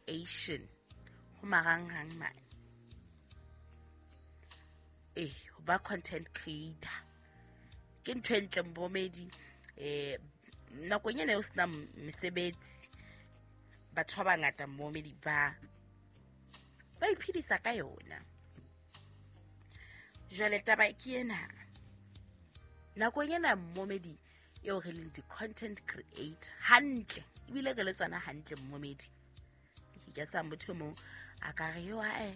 creation ho marangrang mane. Ee, ho ba content creator ke ntho e ntle momamedi. Nakong ena eo sena mesebetsi, batho ba bangata momamedi ba iphedisa ka yona. Jwale taba ke ena, nakong ena momamedi eo re leng di-content creator hantle, ebile re le tsona hantle momamedi. Ke sa motho e mong a ka re yo ae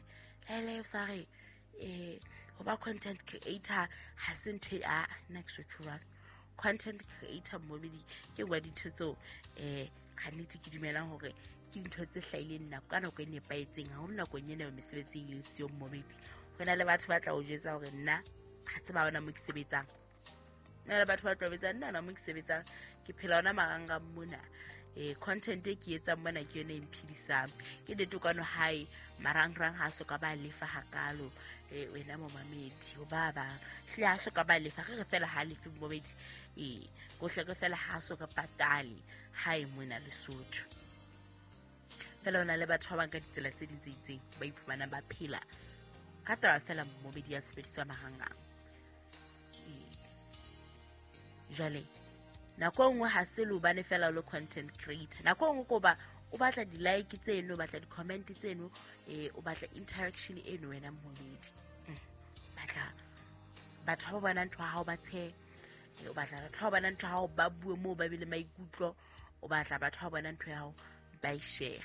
lele o sa re ho ba content creator ha se ntho e a nna ke so jwalo. Content creator momamedi ke nngwe ya dintho tseo ka nnete ke dumelang hore ke dintho tse hlahileng nako ka nako e nepahetseng, haholo nakong ena eo mesebetsi e leng siyo momamedi. Ho na le batho ba tla o jwetsa hore nna ha tseba hona mo ke sebetsang, na le batho ba tla betsa nna hona mo ke sebetsang, ke phela hona marangrang mona. Content e ke etsang mona ke yona e mphedisang. Ke nnete kwano hae marangrang ha so ka ba lefa hakalo. Wena momamedi, ho ba bang hlile ha so ka ba lefa, re re fela ha lefe momamedi. Hohle re fela ha so ka patale hae mona Lesotho. Fela ho na le batho ba bang ka ditsela tse ding tse itseng ba iphumanang ba phela ka taba fela momamedi ya tshebediso ya marangrang. Jwale nako e nngwe ha se le hobane fela o le content creator, nako e nngwe ko ba o batla di-like tseno, o batla di-comment tseno, o batla interaction eno wena momamedi. Batla batho ba bona ntho ya hao ba tshehe, o batla batho ba bona ntho ya hao ba bue moo ba be le maikutlo, o batla batho ba bona ntho ya hao ba e share,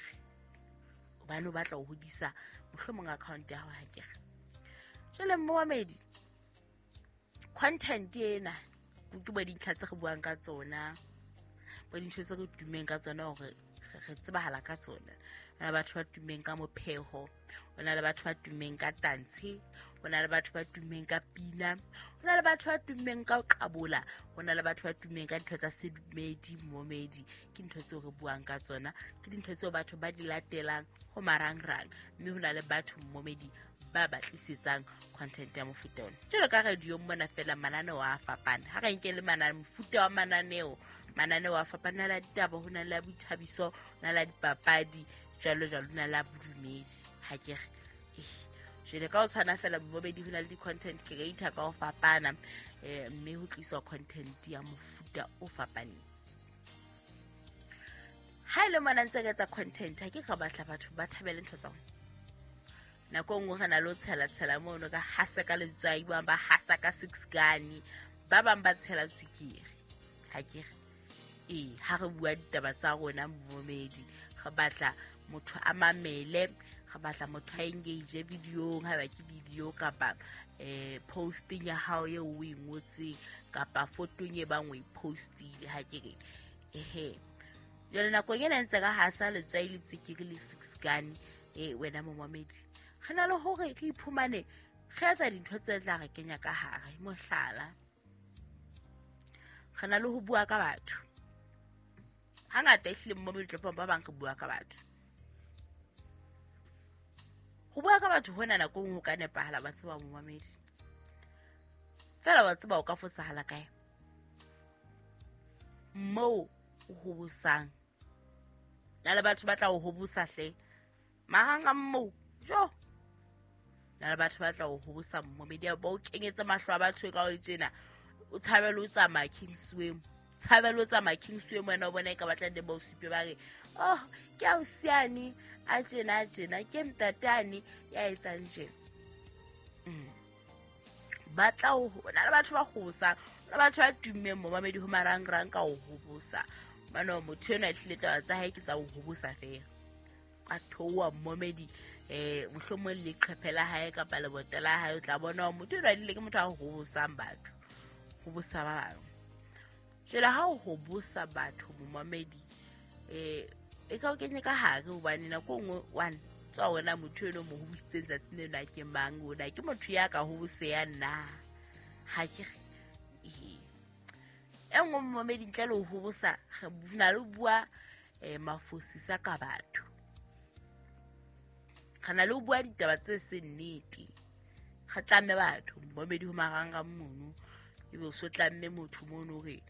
hobane o batla ho hodisa mohlomong account ya hao ha kere. Jwale momamedi, content ena ke bo dintlha tse re buang ka tsona, bo dintho tse re tummeng ka tsona hore re tsebahala ka tsona. Ho na le batho ba tummeng ka mopheho, ho na le batho ba tummeng ka tantshe, ho na le batho ba tummeng ka pina, ho na le batho ba tummeng ka ho qabola, ho na le batho ba tummeng ka dintho tsa sedumedi momedi. Ke ntho tseo re buang ka tsona, ke dintho tseo batho ba di latelang ho marangrang, mme ho na le batho momedi ba batlisetsang content ya mofuta ona. Jwalo ka radio mona fela mananeo a fapana, ha re nke le mofuta wa mananeo, mananeo a fapana, ho na le a ditaba, ho na le a boithabiso, ho na le a dipapadi, jwalo jwalo, ho na le a bodumedi. Ha ke re jwale ka ho tshwana fela momamedi, ho na le di-content creator ka ho fapana, mme ho tliswa content ya mofuta o fapaneng. Ha e le mona ntse re etsa content, ha ke ka batla batho ba thabele ntho tsa rona. Nako e nngwe re na le ho tshela-tshela mono ka hasa ka letswai, ba bang ba hasa ka six gun, ba bang ba tshela tswekere. Ha ke re ha re bua ditaba tsa rona momamedi, re batla motho a mamele, re batla motho a engage videong, haeba ke video kapa posting ya hao eo o e ngotseng kapa fotong e bang o e postile. Ha ke re ehe, jwale nakong ena ntse ka hasa letswai le tswekere le six gun, wena momamedi, re na le hore re iphumane re etsa dintho tse tla re kenya ka hare. Mohlala, re na le ho bua ka batho. Hangata ehlile momamedi tlo ba bang re bua ka batho. Ho bua ka batho hona nako nngwe ho ka nepahala, ba tseba momamedi. Fela wa tseba o ka fosahala kae? Moo o hobosang. Na le batho ba tla o hobosa hle. Marangrang moo, jo. Na le batho ba tla o hobosa momamedi, ba o kenyetse mahlo a batho ka o tjena. O tshabele o tsamaya Kingsway. Tshabele o tsamaya Kingsway wena o bona e ka batla nne ba o supe ba re, oh, ke ausiane a tjena a tjena, ke ntatane ya etsang tjena. Ba tla o ho, na le batho ba hobosang, na le batho ba tummeng momamedi ho marangrang ka ho hobosa. Mano motho enwa ehlile taba tsa hae ke tsa ho hobosa feela. A theoha momamedi, mohlomong leqhephe la hae kapa leboto la hae, o tla bona hore motho enwa ehlile ke motho a hobosang batho, hobosa ba bang. Jwale ha o hobosa batho momamedi, e ka o kenye ka hare, hobane nako e nngwe one tswa wena motho eno mo hobositseng tsatsing leno a ke mang, ona ke motho ya ka hoboseyang na? Ha ke re e nngwe momamedi ntle le ho hobosa, re na le ho bua mafosisa ka batho, re na le ho bua ditaba tse seng nnete, re tlamme batho momamedi ho marangrang mono, ebe o so tlamme motho mono hore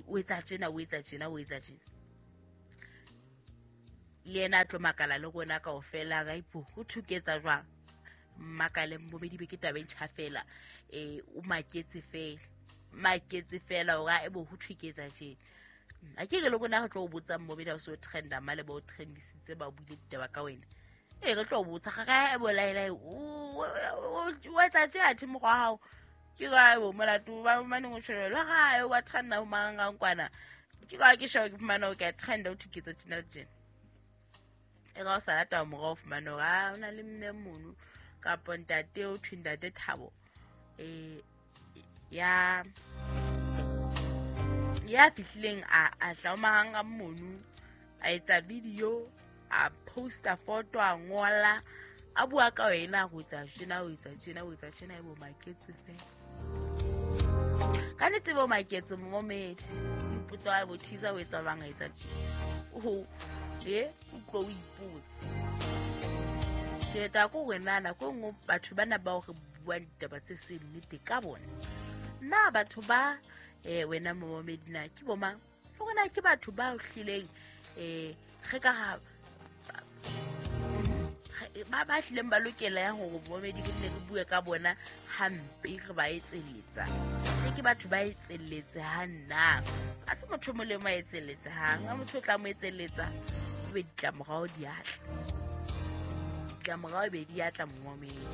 o etsa tjena, o etsa tjena, o etsa tjena. Le yena a tlo makala le rona kaofela ga ipo go thuketsa jwang makale momedi be ke taba e ntšha fela o maketse fela maketse fela ora e bo go thuketsa tje a ke ke le rona re tlo o botsa momedi ha o se o trenda male ba o trendisitse ba buile ditaba ka wena re tlo o botsa ga ga e bolaela o etsa tje athe mokgwa wa hao ke ka bo molato ba maneng o tshwelwa ga e wa trenda ho mangang kwana ke ka ke sheba ke fumana o ka trenda o thuketsa tjena le tjena e ga o sa lata morao o fumane hore a o na le mme mono kapo ntate o thwe ntate Thabo ya fihlileng a tla o mahanga mono a etsa video a posta photo a ngola a bua ka wena go etsa tjena o etsa tjena o etsa tjena e bo maketse fela ka nnete bo maketse momedi ipotsa wa bo thisa o etsa bang a etsa tjena o utlwe o ipotsa tjhelete ko wena nako e nngwe batho bana bao re buang ditaba tse seng nnete ka bona na batho ba wena momedi na ke bo mang le gona ke batho ba hlileng ge ka ga ba hlileng ba lokela ya hore momedi ke nne re bue ka bona hampe re ba etselletsa ke batho ba etselletse ha nna a se motho molemo a etselletse hang ha motho o tla mo etselletsa o be ditlamorao di atla ditlamorao be di atla momedi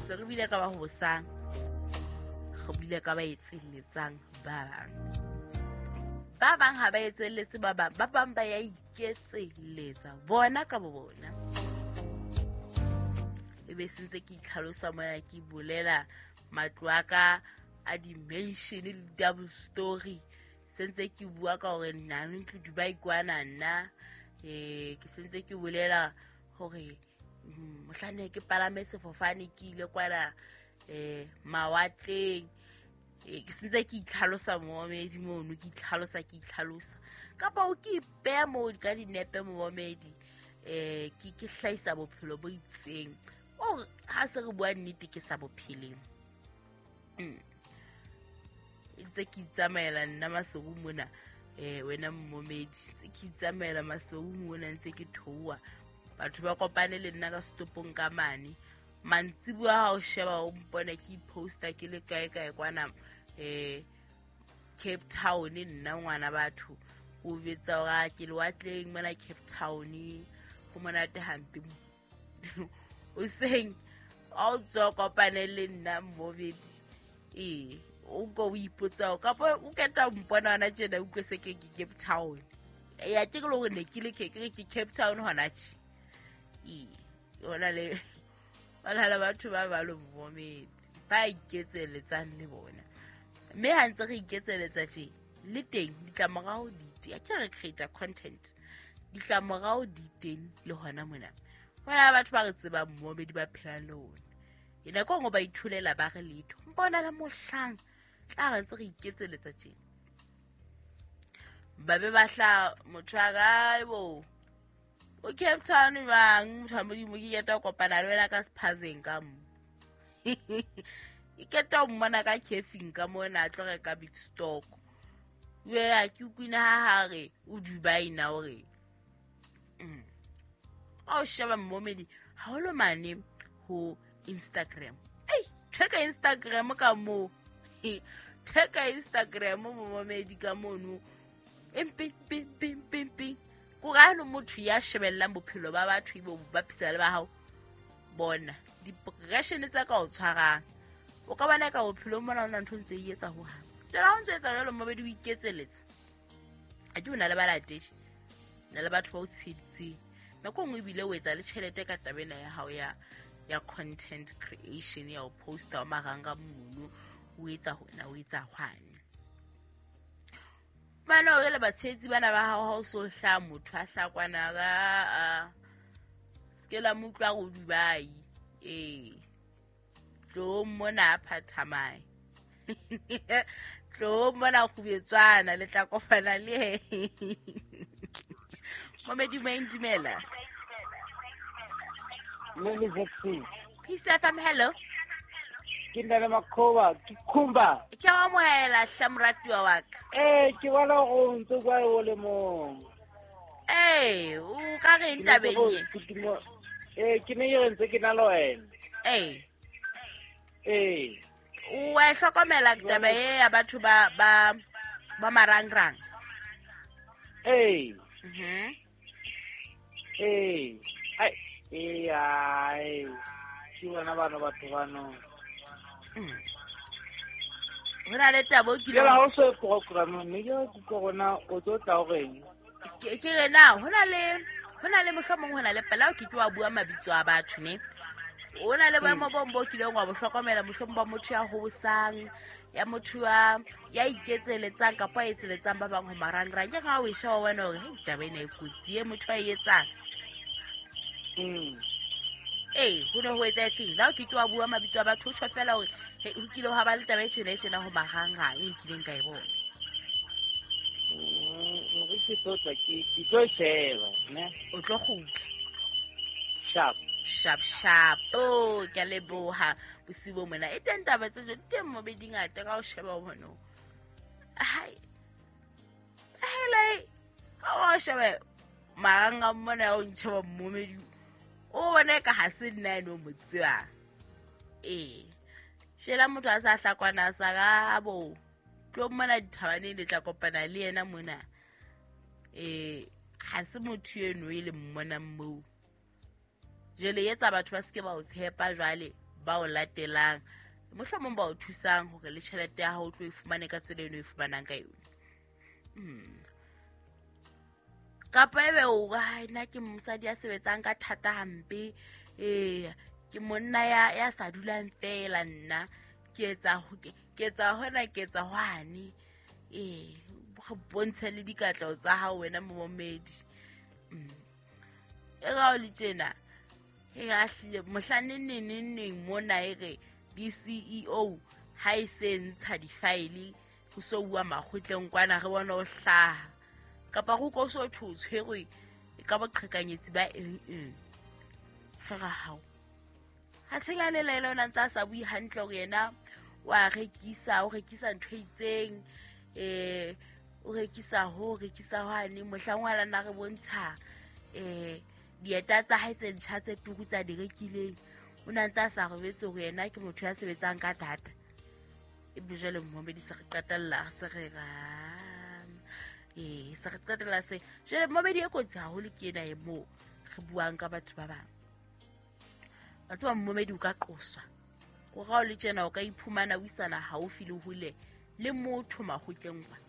se re bile ka ba hosang re bile ka ba etselletsang ba bang ba bang ha ba etselletse ba bang ba bang ba ya iketselletsa bona ka bo bona e be sentse ke itlhalosa moya ke bolela matlo a ka a dimension le double story sentse ke bua ka hore nna ntlo Dubai kwana nna ke sentse ke bolela hore mohlane ke palame sefofane ke ile kwana mawatleng ke sentse ke itlhalosa momedi mono ke itlhalosa kapa o ke ipeya moo ka dinepe momedi ke hlahisa bophelo bo itseng o ha se re bua nnete ke sa bopheleng ntse ke itsamaela nna Maseru mona wena momedi ntse ke itsamaela Maseru mona ntse ke thoa batho ba kopane le nna ka setopong ka mane mantsibuya ha o sheba o mpone ke poster ke le kae kae kwana Cape Town nna ngwana batho o betsa hore ke lewatleng mona Cape Town ho monate hampe o seng a o tswa kopane le nna momedi o go o ipotsa kapa o keta mpona hona tjena utlwe se ke Cape Town ya ke le hore ne ke le ke Cape Town hona tje hona le ba batho ba ba lo momedi ba iketselletsang le bona mme ha ntse re iketselletsa tje le teng ditlamorao di teng a ke re create content ditlamorao di teng le hona mona hona batho ba re tsebang momedi ba phelang le ona e nako nngwe ba ithulela ba re letho mpona le mohlang tla re ntse re iketselletsa tje ba be ba hla motho a kae bo o Cape Town bang motho wa modimo ke keta kopana le wena ka sephazeng ka mo ke keta o mmona ka cafeng ka mona a tlo reka big stock wea ke ukwina ha hare o Dubai na ore a o sheba momedi haholo mane ho Instagram ei theka Instagram ka mo theka Instagram momedi ka mono empe pim pim pim pim ko ga lo motho ya shebellang bophelo ba batho ibo ba phisa le ba hao bona depression tsa ka o tshwarang o ka bona ka bophelo mona ona ntho ntse e etsa ho ha jwale ha o ntse etsa jwalo mobedi o iketseletsa a ke o na le balatedi na le batho ba o tsheditseng nako nngwe ebile o etsa le tjhelete ka taba ena ya hao ya content creation ya o posta wa maranga mono o etsa hona o etsa hwane bana o le batshetsi bana ba hao ha o so hla motho a hla kwana ka se la mo utlwa go Dubai tlo mona phathamae tlo mona khubetswana le tla kopana le momedi mo dumela Peace FM hello ke nna le Makhoba ke Khumba ke wa amohela hla moratuwa wa ka ke bona go ntse kwa o le mong Ee, o ka reng tabeng e? Ee, ke ne ke re ntse ke na le wena. Ee. Ee. O a e hlokomela taba e ya batho ba ba ba marangrang? Ee. Mhm. Ee. Ai, ee, ai. Ke bona bano batho bano. Ho na le taba o Jwale kileng ha o so programme ne ke re ke rona o tlo tla o reng? Ke re na ho na le mohlomong ho na le pela o ke ke wa bua mabitso a batho ne. O na le boemo bo bo kileng wa bo hlokomela mohlomong ba motho ya hobosang, ya motho ya iketseletsang kapa a etseletsang ba bang ho marangrang. Ke ha o e sheba wa bona hore hei taba ena e kotsi e motho a e etsang. Ee, ho ne ho etsahetseng? Le ha o ke ke wa bua mabitso a batho, o tjho feela hore ho kile hwa ba le taba e tjena e tjena ho marangrang e nkileng ka e bona. Hore ke tlo tla ke tlo sheba, ne? O tlo kgutla. Sharp. Sharp sharp. Oh, ke a leboha bosiu bo mona. E teng taba tse jwalo, di teng mo be di ngata ka ho sheba o bone. Hai. Hele, ha o shebe marangrang mona ya o ntjheba mmomedi. O bone ka ha se nna eno mo tsebang. Ee. Shela motho a sa hlakwana sa ka bo. Tlo mona dithabaneng le tla kopana le yena mona. Ha se motho eno e le mmonang moo. Jwale etsa batho ba seke ba o tshepa jwale ba o latelang. Mohlomong ba o thusang hore le tjhelete ya hao o tlo e fumane ka tsela eno e fumanang ka yona. Kapa ebe o re, nna ke mosadi ya sebetsang ka thata hampe. Ke monna ya sa dulang feela nna. Ke etsa hona, ke etsa hwane. Re bontshe le dikatleho tsa hao wena momedi. E ra o le tjena. E ra hlile mohla neng mona e re di-CEO ha e se ntsha di-file ho so bua makgotleng kwana re bona o hlaha. Kapa go ko so thwe o tshwerwe ka boqhekanyetsi ba eng eng. Re ra hao. Ha tshengane le yena o ntse a sa bue hantle hore yena o a rekisa, o rekisa ntho e itseng, o rekisa ho, rekisa hwane. Mohlang wa lana re bontsha dieta tsa hae tse ntjha tse turu tsa di rekileng. O na ntse a sa robetse hore yena ke motho ya sebetsang ka thata. Ebe jwale momedi se re qetella se re ra. Se re qetella se. Jwale momedi e kotsi haholo ke ena e moo re buang ka batho ba bang. Wa tseba momedi o ka qoswa. Ko ra o le tjena o ka iphumana o isana haufi le hole le motho makgotleng kwana.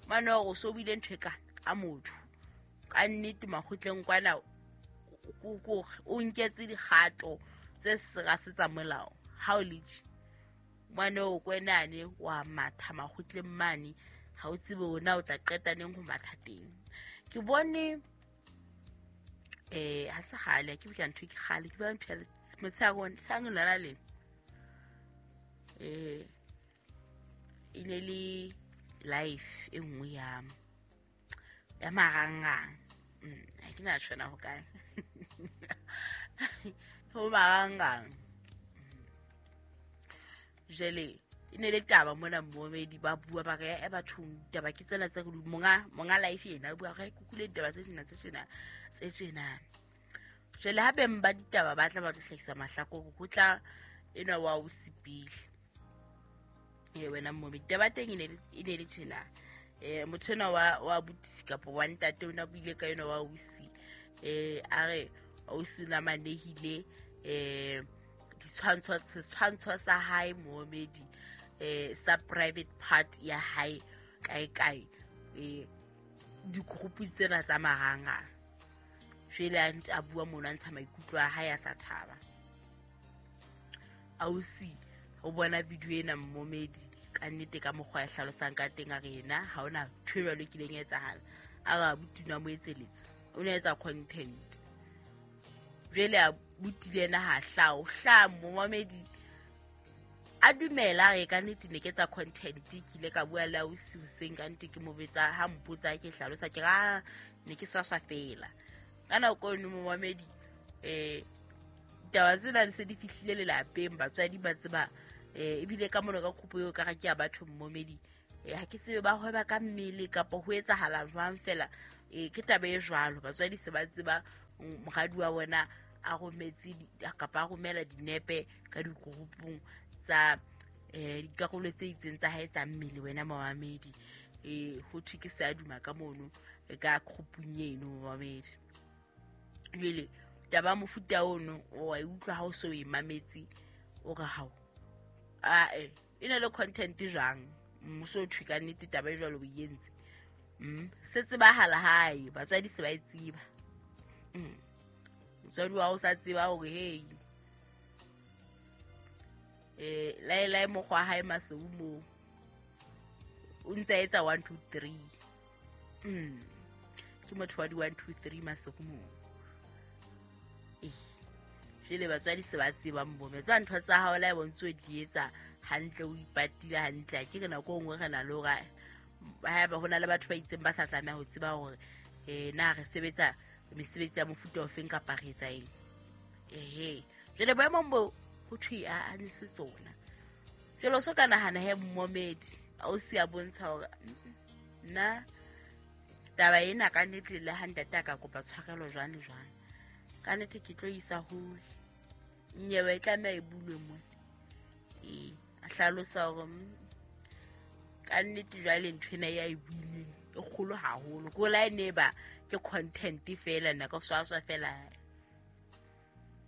Mane hore o so buile ntho e kana ka motho. Ka nnete makgotleng kwana o nketse dikgato tse sera se tsa molao. Ha o le tje mane o kwenane wa matha makgotleng mane, ha o tsebe hore na o tla qeta neng ho matha teng. Ke bone ha se kgale, ke bua ntho e ke kgale, ke bua ntho ya motshehare sang lona lena. E ne le life e nngwe ya marangrang. Ha ke na tshwana ho kae. Ho marangrang. Jwale e ne le taba mona momedi ba bua ba re e bathong taba ke tsena tse re monga life yena o bua re kukule ditaba tse tjena tse tjena tse tjena. Jwale ha beng ba ditaba ba tla ba tlo hlahisa mahlakore ho tla enwa wa o sipile. Wena momedi taba teng e ne le tjena. Motho enwa wa buti kapa wa ntate o na buile ka enwa wa ausi. A re ausi o na manehile setshwantsho sa hae momedi sa private part ya hae kae kae dikgrupu tsena tsa marangrang. Jwale a ntse a bua mono a ntsha maikutlo a hae a sa thaba. Ausi o bona video ena momedi ka nnete ka mokgwa ya hlalosang ka teng a re yena ha hona ntho e jwalo e kileng ya etsahala. A re abuti o ne a mo etseletsa, o ne a etsa content. Jwale a butile yena ha hlaha, o hlaha momedi a dumela re ka nnete ne ke etsa content. Ke ile ka bua le ausi hoseng ka nnete ke mo betsa ha mpotsa ke hlalosa ke ra ne ke swaswa feela. Ka nako eno momedi ditaba tsena di se di fihlile lelapeng, batswadi ba tseba ebile ka mona ka kgopo eo ka re ke ya batho momedi. Ha ke tsebe ba hweba ka mmele kapa ho etsahala jwang fela. Ee, ke taba e jwalo, batswadi se ba tseba moradi wa bona a rometse kapa a romela dinepe ka digroupung tsa dikarolo tse itseng tsa hae tsa mmele wena momamedi. Ho thwe ke se a duma ka mono ka groupung eno momamedi. Jwale taba mofuta ono o a e utlwa ha o so o e mametse, o re hao ae e na le content jwang, mmuso o thwe ka nnete taba e jwalo o e entse. Se tsebahala hae, batswadi se ba e tseba. Motswadi wa o sa tseba hore hey laelae mokgwa wa hae Maseu moo o ntse a etsa 1 2 3. Ke motho wa di 1 2 3 Maseu moo. Jwale batswadi se ba tsebang bomme tsa ntho tsa hao la e bontse o di etsa hantle, o ipatile hantle. Ke re nako e nngwe re na le hore haeba ho na le batho ba itseng ba sa tlameha ho tseba hore na re sebetsa mesebetsi ya mofuta ofeng kapa re etsa eng. Ehe, jwale boemong bo ho thwe a ne se tsona. Jwale o so ka nahana he momedi a o si a bontsha hore nna taba ena ka nnete le ha ntate a ka kopa tshwarelo jwang le jwang, ka nnete ke tlo isa hole, nyewe e tlameha e bulwe mona. Ee, a hlalosa hore ka nnete jwale ntho ena ya e buileng e kgolo haholo, ko la e ne ba ke content fela nna ka swaswa fela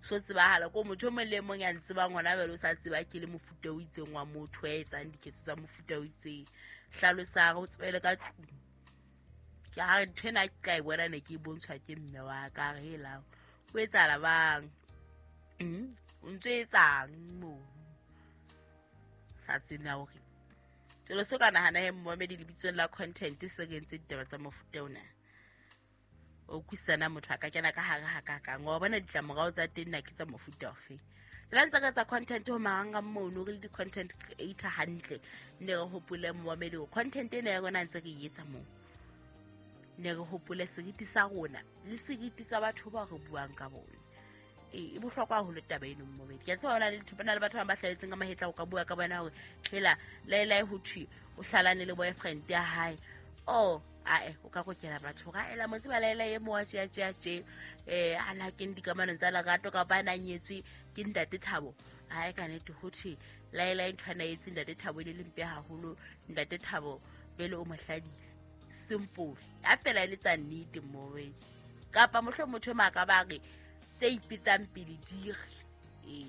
so tsebahala ko motho o mong le mong ya ntsebang hona jwale o sa tseba ke le mofuta o itseng wa motho ya etsang diketso tsa mofuta o itseng. Hlalosa o tswele ka tlung, ke ha ntho ena ke tla e bona ne ke e bontshwa ke mme wa ka, re helang o etsahala bang, o ntso etsang moo sa tsena hore jwale so ka nahana he momedi lebitsong la content se re entse ditaba tsa mofuta ona. O kwisana motho a ka kena ka hare ha ka kang wa bona ditlamorao tsa teng na ke tsa mofuta ofe. Le ntse ka tsa content ho marangrang mono re le di-content creator hantle, ne re hopole momedi hore content ena ya rona ntse re e etsa moo, ne re hopole seriti sa rona le seriti sa batho bao re buang ka bona. E bohlokwa haholo taba eno momedi. Ke a tseba hona le dintho, ba na le batho ba bang ba hlaletseng ka mahetla ho ka bua ka bona hore hela laelae ho thwe o hlalane le boyfriend ya hae. Oh ae o ka kokela batho hore ae la mo tseba laelae e mo wa tje tje tje, a na kene dikamanong tsa lerato kapa a na nyetswe ke ntate Thabo. Ae ka nnete ho thwe laelae ntho a na etse ntate Thabo e ne le mpe haholo, ntate Thabo pele o mo hladile. Simple a fela e le tsa nnete mowe, kapa mohlomong motho e maka ba re tse ipetsang pele di re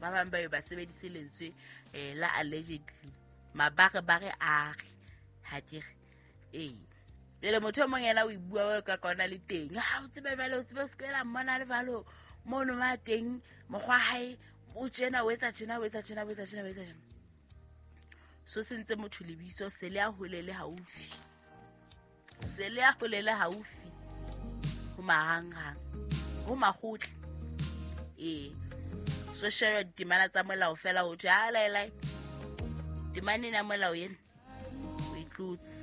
ba bang ba be ba sebedise lentswe la allegedly, mabare bare a re ha ke re. Jwale motho e mong yena o e bua ka kona le teng, ha o tsebe jwale o tsebe o se ke la mmona le jwalo mono ma teng mokgwa hae o tjena o etsa tjena o etsa tjena o etsa tjena o etsa tjena. So sentse motho lebitso se le a hole le haufi, se le a hole le haufi ho marangrang ho makgotla. So share ditemana tsa molao fela ho thwe a laelae temane ena molao ena o e tlotse.